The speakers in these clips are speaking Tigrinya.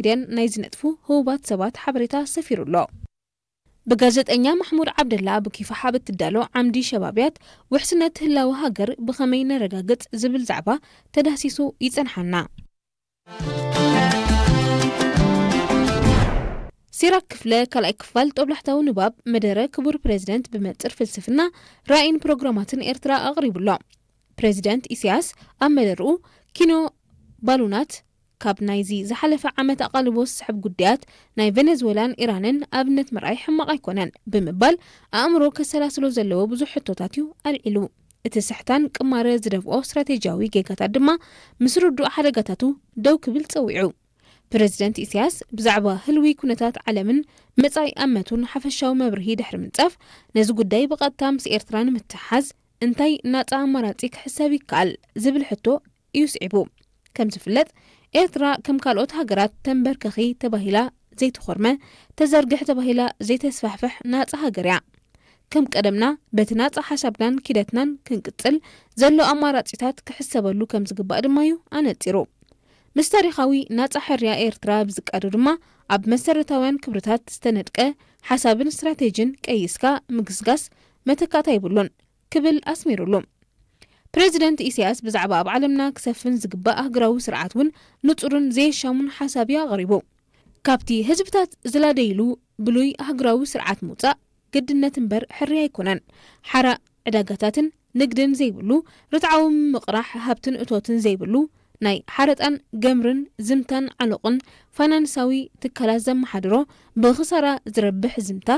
ሚድያን ናይ ዝነጥፉ ህቡባት ሰባት ሓበሬታ ሰፊሩ ኣሎ። ብጋዜጠኛ ማሕሙድ ዓብደላ ኣብ ኪፋሕ ኣብ እትዳሎ ዓምዲ ሸባብያት፣ ውሕስነት ህላወ ሃገር ብኸመይ ነረጋግጽ ዝብል ዛዕባ ተዳህሲሱ ይጸንሓና። ሲራክ ክፍለ ካልኣይ ክፋል ጦብላሕታዊ ንባብ መደረ ክቡር ፕሬዝደንት ብመንጽር ፍልስፍና፣ ራእይን ፕሮግራማትን ኤርትራ ኣቕሪቡሎ። ፕሬዝደንት ኢሳያስ ኣብ መደርኡ፣ ኪኖ ባሉናት ካብ ናይዚ ዝሓለፈ ዓመት ኣቓልቦ ዝስሕብ ጉዳያት ናይ ቬነዝዌላን ኢራንን ኣብነት ምርኣይ ሕማቕ ኣይኮነን ብምባል፣ ኣእምሮ ከሰላስሎ ዘለዎ ብዙሕ ሕቶታት እዩ ኣልዒሉ። እቲ ስሕታን ቅማረ ዝደፍኦ ስትራቴጂያዊ ጌጋታት ድማ ምስ ርዱእ ሓደጋታቱ ደው ክብል ጸዊዑ። ፕረዚደንት ኢሳያስ ብዛዕባ ህልዊ ኩነታት ዓለምን መጻኢ ኣመቱን ሓፈሻዊ መብርሂ ድሕሪ ምንጻፍ፣ ነዚ ጉዳይ ብቐጥታ ምስ ኤርትራ ንምትሕሓዝ እንታይ ናጻ ኣማራጺ ክሕሰብ ይከኣል ዝብል ሕቶ እዩ ስዒቡ። ከም ዝፍለጥ፣ ኤርትራ ከም ካልኦት ሃገራት ተንበርከኺ ተባሂላ ዘይትኾርመ፣ ተዘርግሕ ተባሂላ ዘይተስፋሕፍሕ ናጻ ሃገር እያ። ከም ቀደምና በቲ ናጻ ሓሳብናን ኪደትናን ክንቅጽል ዘሎ ኣማራጺታት ክሕሰበሉ ከም ዝግባእ ድማ እዩ ኣነጺሩ። ምስ ታሪኻዊ ናጻ ሕርያ ኤርትራ ብዝቃዶ ድማ፣ ኣብ መሰረታውያን ክብርታት ዝተነድቀ ሓሳብን ስትራቴጂን ቀይስካ ምግስጋስ መተካእታ የብሉን ክብል ኣስሚሩሉ። ፕረዚደንት ኢሳያስ ብዛዕባ ኣብ ዓለምና ክሰፍን ዝግባእ ኣህጉራዊ ስርዓት እውን ንጹርን ዘየሻሙን ሓሳብ እዩ ኣቕሪቡ። ካብቲ ህዝብታት ዝላደይሉ ብሉይ ኣህጉራዊ ስርዓት ምውጻእ ግድነት እምበር ሕርያ ኣይኮነን። ሓራ ዕዳጋታትን ንግድን ዘይብሉ፣ ርትዓዊ ምቕራሕ ሃብትን እቶትን ዘይብሉ፣ ናይ ሓረጣን ገምርን ዝምታን ዓሎቕን ፋይናንሳዊ ትካላት ዘመሓድሮ፣ ብኽሳራ ዝረብሕ ዝምታ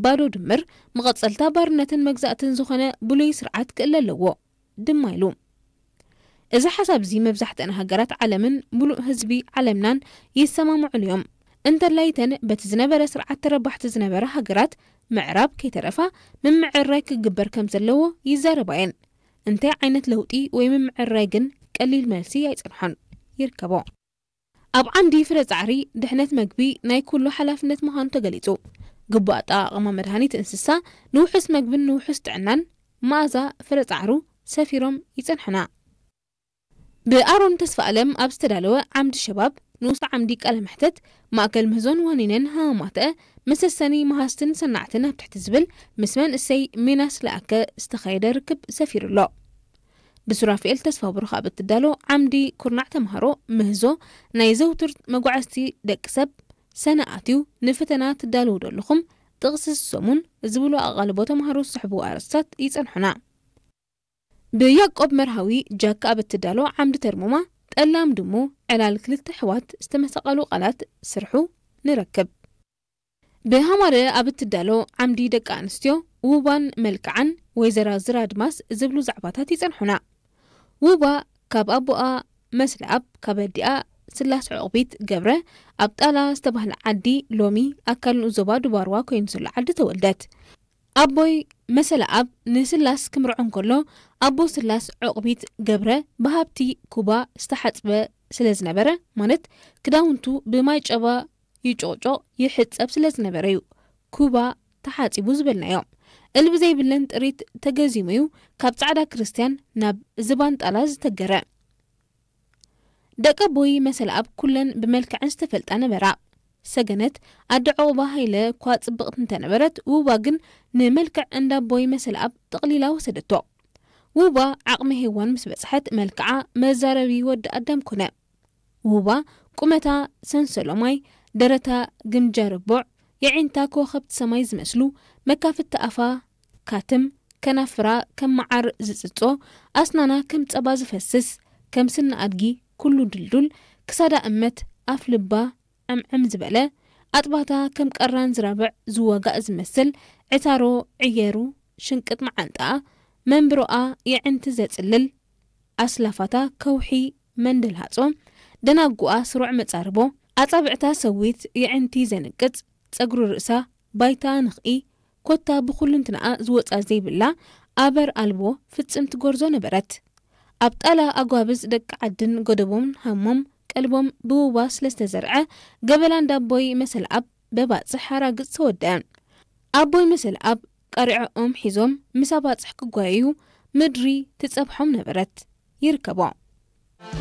ባዶ ድምር፣ መቐጸልታ ባርነትን መግዛእትን ዝኾነ ብሉይ ስርዓት ክእለ ኣለዎ ድማ ኢሉ። እዚ ሓሳብ እዚ መብዛሕትአን ሃገራት ዓለምን ምሉእ ህዝቢ ዓለምናን ይሰማምዑሉ እዮም። እንተላይ እተን በቲ ዝነበረ ስርዓት ተረባሕቲ ዝነበራ ሃገራት ምዕራብ ከይተረፋ ምምዕርራይ ክግበር ከም ዘለዎ ይዛረባ እየን። እንታይ ዓይነት ለውጢ ወይ ምምዕርራይ ግን ቀሊል መልሲ ኣይጸንሖን። ይርከቦ። ኣብ ዓንዲ ፍረ ጻዕሪ ድሕነት መግቢ ናይ ኩሉ ሓላፍነት ምዃኑ ተገሊጹ። ግቡእ ኣጠቓቕማ መድሃኒት እንስሳ፣ ንውሑስ መግብን ንውሑስ ጥዕናን መኣዛ ፍረ ጻዕሩ ሰፊሮም ይጸንሑና። ብኣሮን ተስፋኣለም ኣብ ዝተዳለወ ዓምዲ ሸባብ ንኡስ ዓምዲ ቃለ መሕተት፣ ማእከል ምህዞን ዋኒነን ሃማማተአ፣ መሰሰኒ መሃዝትን ሰናዕትን ኣብ ትሕቲ ዝብል ምስ መንእሰይ ሚናስ ለኣከ ዝተኻየደ ርክብ ሰፊሩ ኣሎ። ብሱራፊኤል ተስፋ ብሩኽ ኣብ እትዳሎ ዓምዲ ኩርናዕ ተምሃሮ ምህዞ፣ ናይ ዘውትር መጓዕዝቲ ደቂ ሰብ ሰነ ኣትዩ ንፈተና ትዳለዉ ዶ ኣለኹም፣ ጥቕሲ ሰሙን ዝብሉ ኣቓልቦ ተምሃሮ ዝስሕቡ ኣርእስታት ይጸንሑና። ብያቆብ መርሃዊ ጃካ ኣብ እትዳሎ ዓምዲ ተርሙማ፣ ጠላም ድሙ፣ ዕላል ክልተ ኣሕዋት ዝተመሳቐሉ ቃላት ስርሑ ንረክብ። ብሃማረ ኣብ እትዳሎ ዓምዲ ደቂ ኣንስትዮ ውባን መልክዓን ወይዘራ ዝራ ኣድማስ ዝብሉ ዛዕባታት ይጸንሑና። ውባ ካብ ኣቦኣ መስለኣብ ካብ ኣዲኣ ስላስ ዕቑቢት ገብረ ኣብ ጣላ ዝተባህለ ዓዲ ሎሚ ኣካል ንኡስ ዞባ ዱባርዋ ኮይኑ ዘሎ ዓዲ ተወልደት። ኣቦይ መሰለኣብ ንስላስ ክምርዖ እንከሎ ኣቦ ስላስ ዕቑቢት ገብረ ብሃብቲ ኩባ ዝተሓጽበ ስለ ዝነበረ፣ ማለት ክዳውንቱ ብማይ ጨባ ይጮቕጮቕ ይሕጸብ ስለ ዝነበረ እዩ ኩባ ተሓጺቡ ዝበልናዮ። እልቢ ዘይብለን ጥሪት ተገዚሙ እዩ ካብ ጻዕዳ ክርስትያን ናብ ዝባን ጣላ ዝተገረ። ደቂ ኣቦይ መሰለኣብ ኩለን ብመልክዐን ዝተፈልጣ ነበራ። ሰገነት ኣደ ዑቕባ ሃይለ እኳ ጽብቕቲ እንተነበረት፣ ውባ ግን ንመልክዕ እንዳ ኣቦይ መሰለኣብ ጥቕሊላ ወሰደቶ። ውባ ዓቕሚ ሄዋን ምስ በጽሐት፣ መልክዓ መዛረቢ ወዲ ኣዳም ኮነ። ውባ ቁመታ ሰንሰሎ ማይ፣ ደረታ ግምጃ ርቡዕ፣ የዒንታ ከዋኽብቲ ሰማይ ዝመስሉ፣ መካፍቲ ኣፋ ካትም፣ ከናፍራ ከም መዓር ዝጽጾ፣ ኣስናና ከም ጸባ ዝፈስስ፣ ከም ስኒ ኣድጊ ኩሉ ድልዱል፣ ክሳዳ እመት፣ ኣፍ ልባ ዕምዕም ዝበለ፣ ኣጥባታ ከም ቀራን ዝራብዕ ዝዋጋእ ዝመስል፣ ዕታሮ ዕየሩ ሽንቅጥ መዓንጣኣ፣ መንብሮኣ የዕንቲ ዘጽልል፣ ኣስላፋታ ከውሒ መንደልሃጾ፣ ደናጉኣ ስሩዕ መጻርቦ፣ ኣጻብዕታ ሰዊት የዕንቲ ዘንቅጽ፣ ጸጉሪ ርእሳ ባይታ ንኽኢ፣ ኮታ ብኹልንትናኣ ዝወጻ ዘይብላ፣ ኣበር ኣልቦ ፍጽምቲ ጎርዞ ነበረት። ኣብ ጣላ ኣጓብዝ ደቂ ዓድን ጎደቦምን ሃሞም ቀልቦም ብውባ ስለ ዝተዘርዐ፣ ገበላ እንዳ ኣቦይ መሰልኣብ በባጽሕ ኣራግጽ ተወደአ። ኣቦይ መሰልኣብ ቀሪዖኦም ሒዞም ምስ ኣባጽሕ ክጓየዩ ምድሪ ትጸብሖም ነበረት። ይርከቦ።